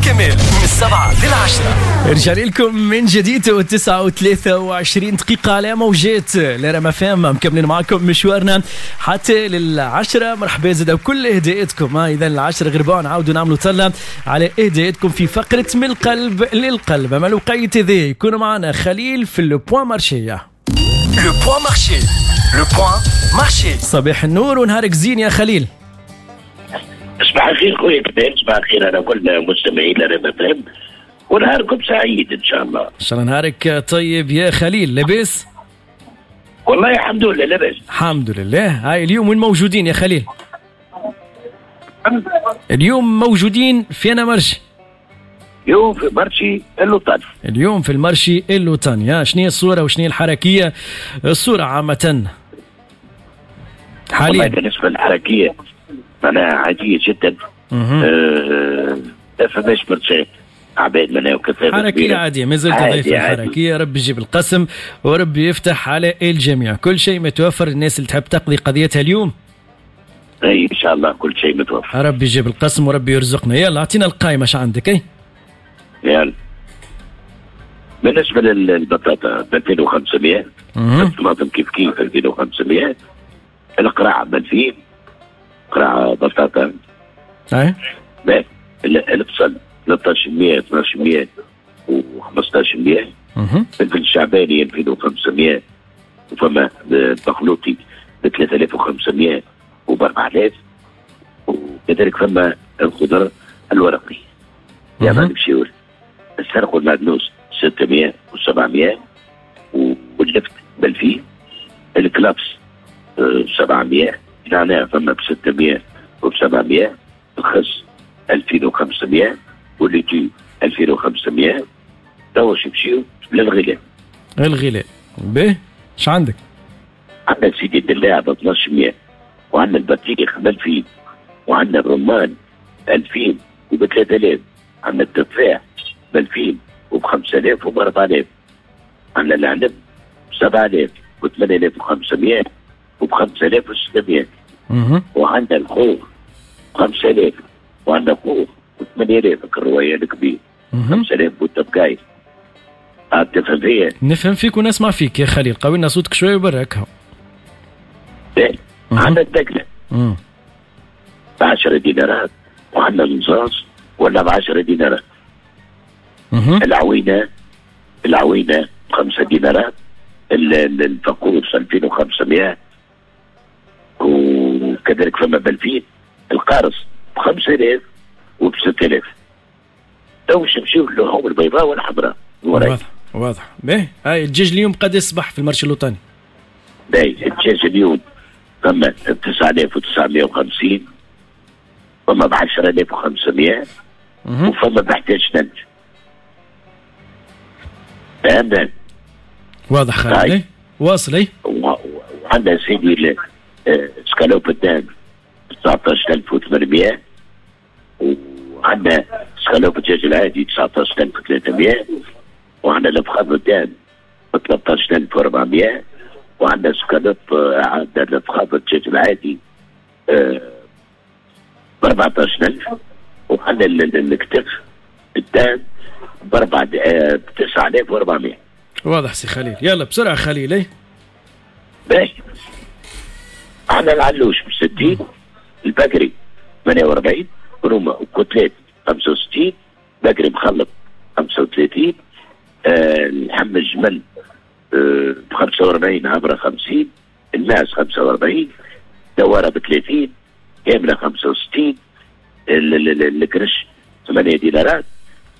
كمال من 7 لل10. رجع لكم من جديد و9 و23 دقيقة على موجات الرام اف ام، مكملين معكم مشوارنا حتى لل10. مرحبا زاد بكل اهداءاتكم. اذا 9:45 نعاودوا نعملوا طلة على اهداءاتكم في فقرة من القلب للقلب. اما الوقيت ذي يكون معنا خليل في le point marché. le point marché، le point marché. صباح النور ونهارك زين يا خليل. صباح الخير خويا كمال، صباح الخير على كل مستمعين رام اف ام ونهاركم سعيد ان شاء الله. ان شاء الله نهارك طيب يا خليل، لاباس؟ والله الحمد لله لاباس. الحمد لله. هاي اليوم وين موجودين يا خليل؟ اليوم موجودين في أنا marché؟ اليوم في marché اللوطاني. اليوم في ال marché اللوطاني. شنو هي الصورة وشنو هي الحركية؟ الصورة عامة حاليا. والله بالنسبة للحركية معناها عادية جدا. ما فماش برشا عباد معناها وكثافة. حركية عادية، ما زلت ضيف الحركية. ربي يجيب القسم وربي يفتح على الجميع. كل شيء متوفر الناس اللي تحب تقضي قضيتها اليوم؟ اي ان شاء الله كل شيء متوفر. ربي يجيب القسم وربي يرزقنا. يلا اعطينا القائمة، اش عندك اي؟ يلا، بالنسبة للبطاطا ب 2500، الطماطم كيف كيف 2500، القرع ب 2000، قرع بطاطا. اي. البصل 1300، 1200 و 1500. الفلفل الشعباني 2500، وفما البخلوطي ب 3500 وب 4000، وكذلك فما الخضر الورقي يعني نمشيو السلق والمعدنوس 600 و700، واللفت ب 2000، الكلافس 700، نعناع فما ب 600 وب 700، الخس 2500 وال laitue 2500. توا نمشيو للغلاء. الغلاء باهي، اش عندك؟ عندنا سيدي الدلاع ب 1200، وعندنا البطيخ ب 2000، وعندنا الرمان 2000 وب 3000، عندنا التفاح ب 2000 وب 5000 وب 4000، عندنا العنب ب 7000 و 8500 وب 5600، وعندنا الخوخ ب 5000، وعندنا خوخ ب 8000 الرواية الكبير 5000 والتبقاي. تفهم فيا؟ نفهم فيك ونسمع فيك يا خليل، قوي لنا صوتك شوي وبرك. عندنا الدقلة ب 10 دينارات، وعندنا النصاص ولا ب 10 دينارات. العوينة العوينة ب 5 دينارات، الفقوس 2500 وكذلك فما ب 2000، القارص ب 5000 وب 6000. تو باش نمشيو للحوم البيضاء والحمراء. واضح واضح. باهي، هاي الدجاج اليوم قد يصبح في ال marché اللوطاني؟ باهي، الدجاج اليوم فما ب 9950، فما ب 10500، وفما ب 11000. فهمنا؟ واضح خالد، واصل اي. وعندنا سيدي escalope ال dinde 19800، وعندنا سكالوب الدجاج العادي 19300، وعندنا الفخذ ال dinde ب 13400، وعندنا سكالوب، عندنا الفخذ الدجاج العادي ب 14000، وعندنا الكتف ال dinde ب 9400. واضح سي خليل، يلا بسرعة خليل اي. باهي، عندنا العلوش ب 60، البقري 48، روما و côtelette 65، بقري مخلط 35، اللحم الجمل ب 45، عبره 50، الماعز 45، دواره ب 30، كاملة 65، الكرش 8 دينارات،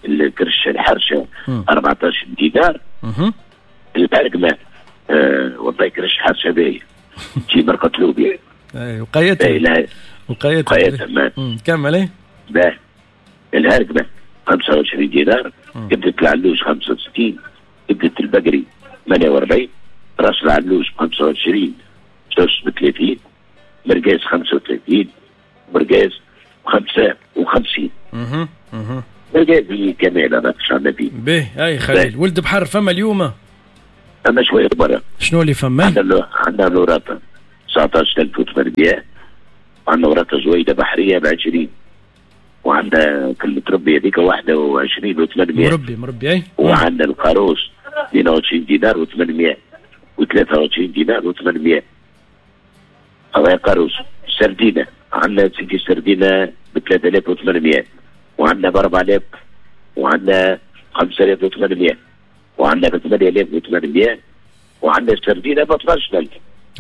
الكرش الحرشه 14 دينار، البرقمه والله كرش حرشه باهيه تجي مرقه لوبيا. اي وقيتها. وقيتها. وقيتها. كمل ايه. باهي، الهرقمه 25 دينار، كبدة العلوش 65، كبدة البقري 48، راس العلوش ب 25، سوس ب 30، مرقاز 35، مرقاز ب 55. اها اها. مرقاز كمال هذا عندنا فيه. باهي، اي خليل، ولد بحر فما اليوم؟ فما شوية برا. شنو اللي فما؟ عندنا الوراطة 19800، عندنا وراطة زويدة بحرية ب 20. وعندنا كلمة ربي هذيك 21 و800. مربي اي. وعندنا القاروص 22 دينار و800 و23 دينار و800. هذا قاروص. سردينة عندنا سيدي سردينة ب 3800، وعندنا ب 4000، وعندنا 5800، وعندنا ب 8800، وعندنا سردينة ب 12000.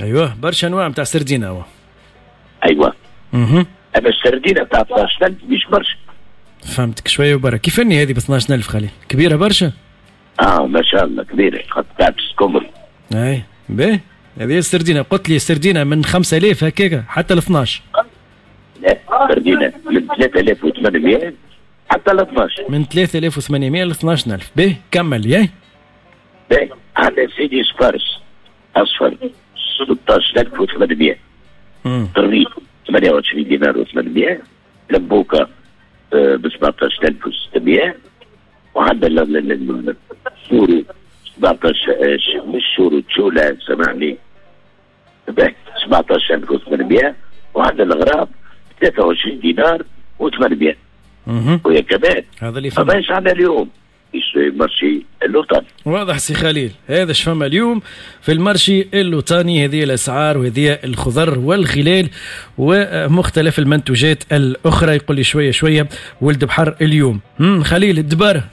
ايوه برشا انواع نتاع سردينة هو. ايوه. اما السردينة نتاع 12000 مش برشا. فهمتك شوية وبرا. كيفني هذه ب 12000 خليل؟ كبيرة برشا؟ ما شاء الله كبيرة، خاطر كبر. اي باهي. هذه السردينة قلت لي السردينة من 5000 هكاك حتى ل 12. لا سردينة من 3800 حتى ل 12. من 3800 ل 12000. باهي كمل ياي. باهي عندنا سيدي سبارس اصفر 16800. طريق 28 دينار و800. لبوكا ب 17600. وعندنا السوري 17 مش سوري تشولا سامحني 17800. وعندنا الغراب 23 دينار و800. ويا كمان هذا اللي فما ايش عندنا اليوم في ال marché اللوطاني. واضح سي خليل، هذا اش فما اليوم في ال marché اللوطاني. هذه الاسعار وهذه الخضر والغلال ومختلف المنتوجات الاخرى. يقول لي شوية شوية ولد بحر اليوم. خليل الدباره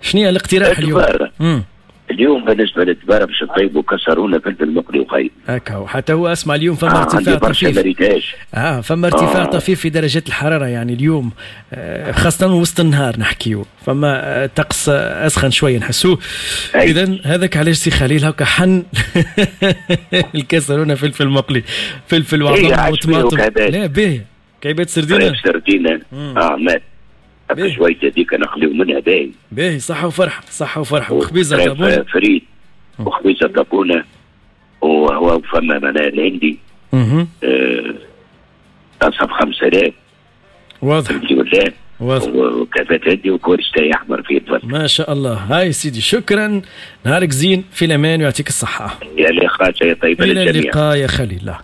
شنو هي الاقتراح اليوم؟ اليوم بالنسبة للدباره باش نطيبوا كسرونه فلفل مقلي وخيط. هكا حتى هو اسمع اليوم فما ارتفاع طفيف. فما ارتفاع طفيف في درجات الحرارة يعني اليوم، خاصة وسط النهار نحكيو فما طقس اسخن شوية نحسوه. اذا هذاك علاش سي خليل هكا حن الكسرونه فلفل مقلي، فلفل وعظم وطماطم. لا باهي كعبات سردينه. سردينه مات شوية هذيك نخليو منها باهي. باهي صحة وفرحة، صحة وفرحة. وخبيزة طابونة فريد وخبيزة طابونة، وهو فما معناها الهندي تصب 5000. واضح. واضح. وكافات هندي وكورستاي أحمر في الفرق. ما شاء الله. هاي سيدي شكرا، نهارك زين في الأمان ويعطيك الصحة. يا لقاء يا طيبة للجميع. إلى اللقاء يا خليل.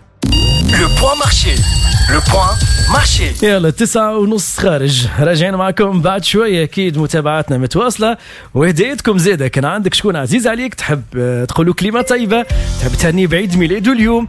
Le point marché. Le point marché. يلا 9:30 خارج، راجعين معكم بعد شوية. أكيد متابعاتنا متواصلة وهدايتكم زادة. كان عندك شكون عزيز عليك تحب تقولوا كلمة طيبة، تحب تهنيه بعيد ميلاده اليوم،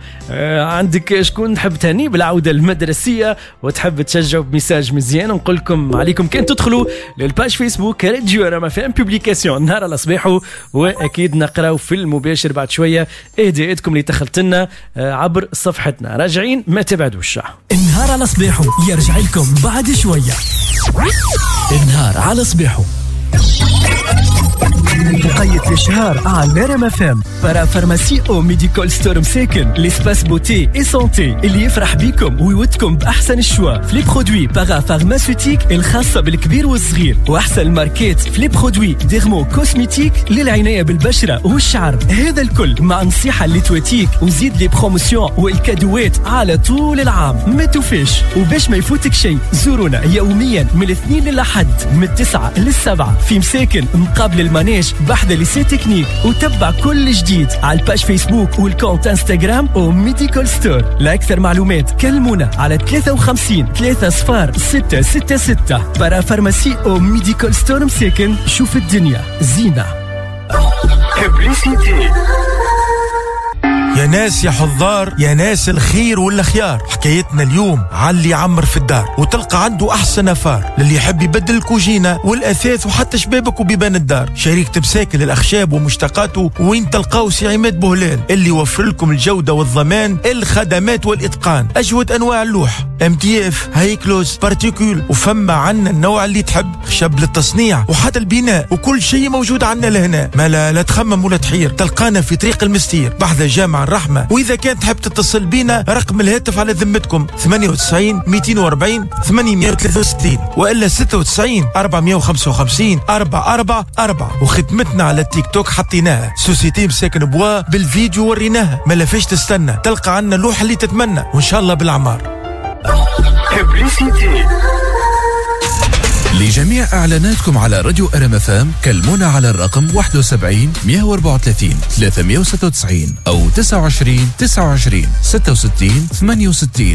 عندك شكون تحب تهنيه بالعودة المدرسية وتحب تشجعه ب message مزيان، نقول لكم عليكم كان تدخلوا لل page Facebook راديو رما فام publication نهار على صباحه، وأكيد نقراو في المباشر بعد شوية هدايتكم اللي دخلت لنا عبر صفحتنا. راجعين ما تبعدوش. النهار على صباحه يرجع لكم بعد شوية. النهار على صباحه بقية الشهر على رما فام. Parapharmacie او Medical Store مساكن، l'espace beauté et santé اللي يفرح بيكم ويودكم باحسن ال choix في les produits parapharmaceutiques الخاصة بالكبير والصغير، واحسن الماركات في les produits dermo-cosmétiques للعناية بالبشرة والشعر. هذا الكل مع نصيحة اللي تواتيك وزيد les promotions والكادوات على طول العام. ما توفيش وباش ما يفوتك شيء، زورونا يوميا من الاثنين للأحد من 9 لل7 في مساكن مقابل ال manège بحذا lycée technique، وتبع كل جديد على ال page Facebook وال compte Instagram و Medical Store. لأكثر معلومات كلمونا على 53 3 0 6 6 6. Parapharmacie او Medical Store مساكن، شوف الدنيا زينة. يا ناس يا حضار، يا ناس الخير والخيار، حكايتنا اليوم على اللي يعمر في الدار وتلقى عنده أحسن أفار، للي يحب يبدل الكوجينة والأثاث وحتى شبابك وبيبان الدار. شريك تبساكل الأخشاب ومشتقاته وين تلقاو سي عماد بوهلال اللي يوفر لكم الجودة والضمان، الخدمات والإتقان، أجود أنواع اللوح MDF، هايكلوز، particule، وفما عنا النوع اللي تحب، خشب للتصنيع وحتى البناء، وكل شيء موجود عنا لهنا. ما لا تخمم ولا تحير، تلقانا في طريق المستير بحذا جامع الرحمة. وإذا كان تحب تتصل بينا رقم الهاتف على ذمتكم 98 240 863 وإلا 96 455 444. وخدمتنا على التيك توك حطيناها société مساكن bois بالفيديو وريناها، ما لفاش تستنى، تلقى عنا اللوحة اللي تتمنى وإن شاء الله بالأعمار. لجميع إعلاناتكم على راديو RMFM كلمونا على الرقم 71 134 396 أو 29 29 66 68.